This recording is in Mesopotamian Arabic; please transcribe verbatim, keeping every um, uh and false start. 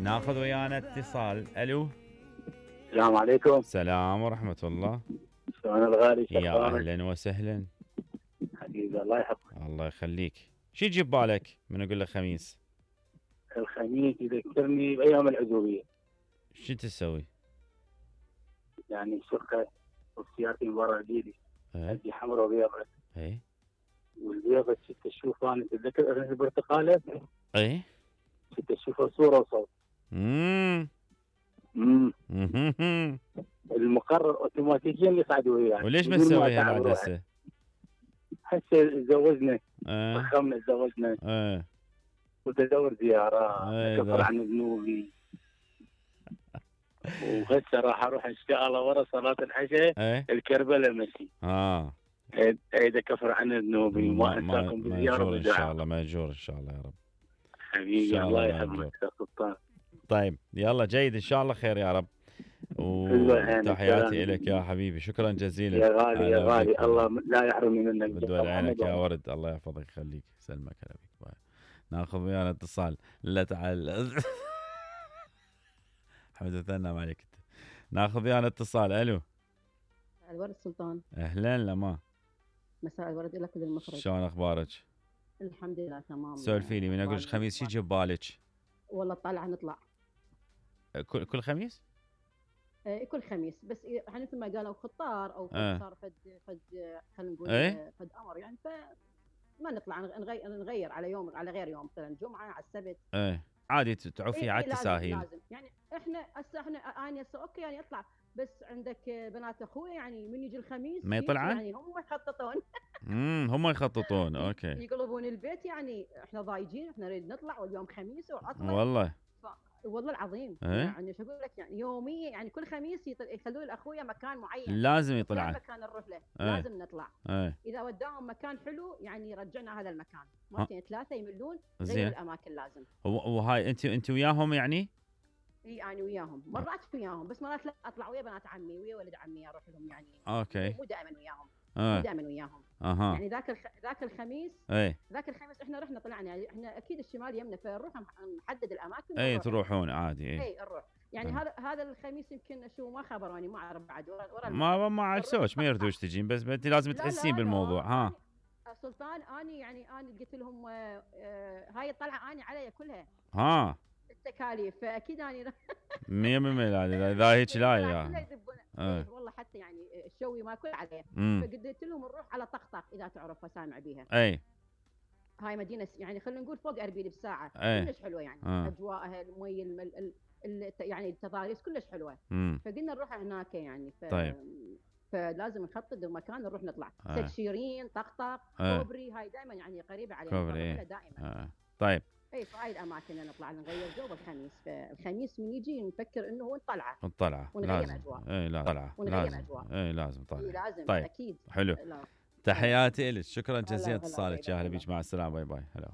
ناخذ ويانا اتصال. الو السلام عليكم. السلام ورحمة الله. شلون الغالي؟ يا اهلا وسهلا حبيبي الله يحفظك. الله يخليك. شي تجيب بالك من اقول لك خميس؟ الخميس يذكرني بايام العزوبيه. شو تسوي؟ يعني شقه وسيارتي من برا ايدي ايه عندي حمراء وبيضاء. ايه والبيضاء كنت اشوفها انا تتذكر البرتقاله؟ ايه كنت اشوفها صوره وصوت. امم امم المقرر اوتوماتيكيا يصعد وياي. وليش ما تسويها بعد هسه؟ هسه تزوجنا اه فخمنا تزوجنا اه قلت ادور زيارات ايه اكفر عن ذنوبي. وهسه راح اروح ان شاء الله ورا صلاه العشاء ايه الكربلاء مشي. اه عيد اكفر عن ذنوبي وما انساكم بالزياره ماجور ان بالدعاء. شاء الله ماجور ان شاء الله يا رب. حبيبي الله يحفظك يا سلطان. طيب يلا جيد ان شاء الله خير يا رب. وتحياتي لك يا حبيبي. شكرا جزيلا يا غالي يا غالي. الله لا يحرمني منك. بدول عينك يا ورد. الله يحفظك يخليك يسلمك. هلا بك. ناخذ ويانا اتصال. لا تعال حمد ثنا ما عليك. ناخذ ويانا اتصال. الو الورد سلطان. اهلا لما. مساء الورد لك وللمخرج. شلون اخبارك؟ الحمد لله تمام. سولفيني من اقول خميس شي جيب بالك؟ والله طالعه نطلع كل كل خميس؟ ايه كل خميس بس يعني مثل ما قالوا خطار او اه. صار فد فد خلينا نقول ايه؟ فد امر يعني فما نطلع نغير نغير على يوم على غير يوم مثلا جمعه على السبت. ايه عادي تعوفي إيه على إيه التساهيل. لازم, لازم يعني احنا هسه احنا انا هسه اوكي يعني اطلع بس عندك بنات اخوي يعني من يجي الخميس ما يطلعن؟ يعني هم يخططون. امم هم يخططون اوكي. يقلبون البيت يعني احنا ضايجين احنا نريد نطلع واليوم خميس وعطله. والله ف... والله العظيم ايه؟ يعني شو اقول لك يعني يوميا يعني كل خميس يطل... يخلون الاخويا مكان معين لازم يطلع مكان نروح له. ايه؟ لازم نطلع ايه؟ اذا وداهم مكان حلو يعني رجعنا هذا المكان مرتين ثلاثه يملون زين الاماكن لازم. وهاي انت انت وياهم يعني؟ اي انا وياهم مرات وياهم بس مرات لا اطلع ويا بنات عمي ويا ولد عمي اروح لهم يعني. اوكي. مو دائما وياهم. اه. مو دائما وياهم. اها. يعني ذاك الخ... ذاك الخميس. ايه. ذاك الخميس احنا رحنا طلعنا يعني احنا اكيد الشمال يمنا فنروح نحدد الاماكن. اي تروحون عادي. اي اي نروح يعني اه. هذا هذا الخميس يمكن شو ما خبروني ما اعرف بعد ورا, ورا ما ما عرسوش ما يردوش تجين بس انت لازم تحسين بالموضوع. ها سلطان اني يعني انا قلت لهم آه آه هاي الطلعه اني علي كلها. ها التكاليف فاكيد اني مية بالمية اذا هيك لا يا اه. والله حتى يعني الشوي ما كل عليه. فقلت لهم نروح على طقطق اذا تعرفها سامع بيها. اي هاي مدينه يعني خلينا نقول فوق اربيل بساعه. كلش حلوه يعني اه. اجواءها المي ال ال يعني التضاريس كلش حلوه. مم. فقلنا نروح هناك يعني ف... طيب فلازم نخطط مكان نروح نطلع. آه. سد شيرين طقطق آه. كوبري هاي دائما يعني قريبه علينا. كوبري دائما. آه. طيب اي فهاي الاماكن نطلع نغير جو بالخميس. فالخميس من يجي نفكر انه هو طلعه الطلعه ونغير اجواء. اي لا طلعه لازم اجواء. اي لازم طلعه. إيه لازم طيب. اكيد. حلو. تحياتي لك. شكرا جزيلا اتصالك. يا هلا بيك. مع السلامه. باي باي. هلا.